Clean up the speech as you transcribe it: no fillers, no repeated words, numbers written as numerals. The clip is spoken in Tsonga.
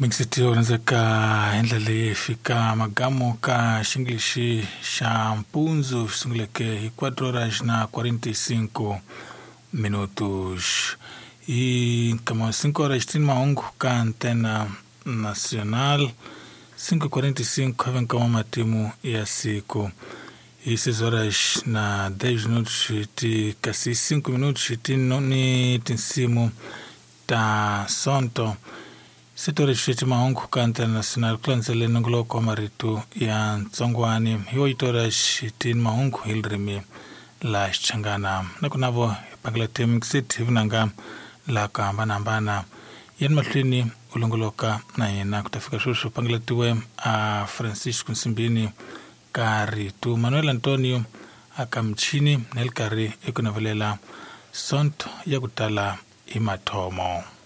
Mingiseti yo rhandzeka hi ndlela leyi hi fika magamu ka xingilixi xa mpundzu xi sunguleke hi 4 horas na 45 minutos hi nkama wa 5 horas tini mahungu ka antena nacional 5:45 ave nkama matimu ya siku hi 6 horas na 10 minutos ti kasi 5 minutos ti ni tinsimu ta sonto. Sitori xi mahungu ka international ku landzele nongoloko wa marito ya ntsongwani hi oitora xitini mahungu hi ririmi la Xichangana na ku navo hi pangela timixit hi vunanga la ku hambanahambana yeni mahlweni u longoloka na yena ku ta fika sweswi pangeletiwe a Francisco Nsimbini ka rito Manuel Antonio aka michini na le karhi eku navelela sonto ya ku tala hi mathomo.